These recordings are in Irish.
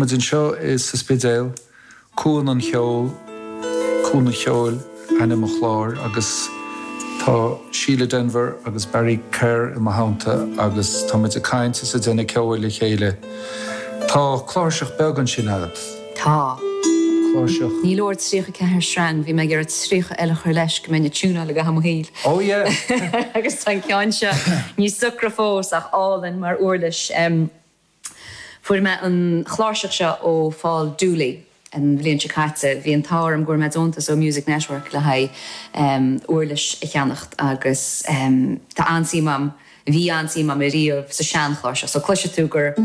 Tá muid anseo sa Spidéal, Cuan an Cheoil, Cuan an Cheoil ainm an chláir agus tá Síle Denvir agus Barry Kerr i mo theannta agus tá muid ag caint is ag déanamh ceoil le chéile. Tá cláirseach beag ansin agat. Tá. Cláirseach. Ní leor 34 sreang, bhí mé ag iarraidh 30 eile a chur leis go mbeinn ag tiúnáil i gcaitheamh mo shaoil. Oh yeah! Agus tá an ceann seo níos socra fós ach álainn mar uirlis. Fuair mé an chláirseach seo ó Phól Dooley an bhliain seo caite. Bhí an t-ádh orm go bhfuair mé deontas ó Music Network le haghaidh uirlis a cheannacht agus tá an-suim a'm, bhí an-suim a'm ariamh sa seanchláirseach. So cloisfidh tú gur,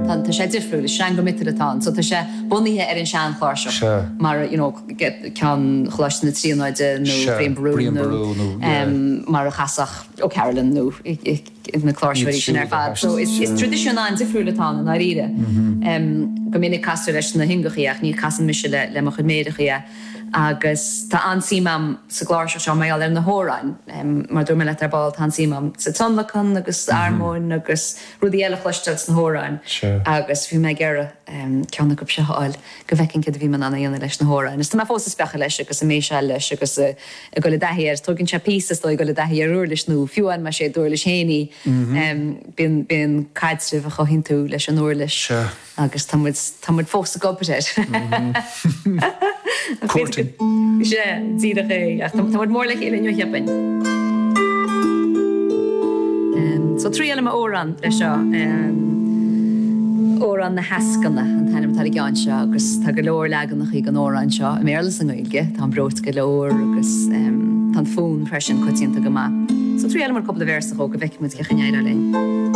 tá sé difriúil, is sreanga miotail atá ann. So tá sé bunaithe ar an seanchláirseach mar you know ceann Choláiste na Tríonóide nó Brian Boru nó mar a chasfadh O'Carolan nó. na cláirseoirí sin ar fad. So is traidisiún an-difriúil atá ann i ndáiríre. Go minic castar leis na hingeachaí ach ní chasann mise le mo chuid méireachaí é. Agus tá an-suim a'm sa gcláirseach seo mar gheall ar na hamhráin. Mar a dúirt mé leat ar ball, tá an-suim a'm sa tionlacan agus armóin agus rudaí eile a chloisteáil sna hamhráin. Agus bhí mé ag iarraidh ceann acu seo a fháil go bhfeicfinn céard a bhí mé in ann a dhéanamh leis na hamhráin. Is tá mé fós ag speachadh leis agus ag méiseáil leis agus ag dul i dtaithí air. Tógann sé píosa is dóigh ag dul i dtaithí ar uirlis nua, fiú amháin más é d'uirlis féin í. Bíonn, bíonn caidreamh a chothaíonn tú leis an uirlis agus tá muid, tá muid fós ag obair air. Courting. Sea, díreach é. Ach tá muid mór le chéile inniu, cheapfainn. So triailfidh mé amhrán leis seo. Amhrán na hEascanna an t-ainm atá ar an gceann seo agus tá go leor leaganachaí den amhrán seo i mBéarla is i nGaeilge. Tá an breoite go leor agus tá an fonn freisin coitianta go maith. So triailfidh muid cúpla véarsa dhó go bhfeicfidh muid cén chaoi a n-éireoidh linn.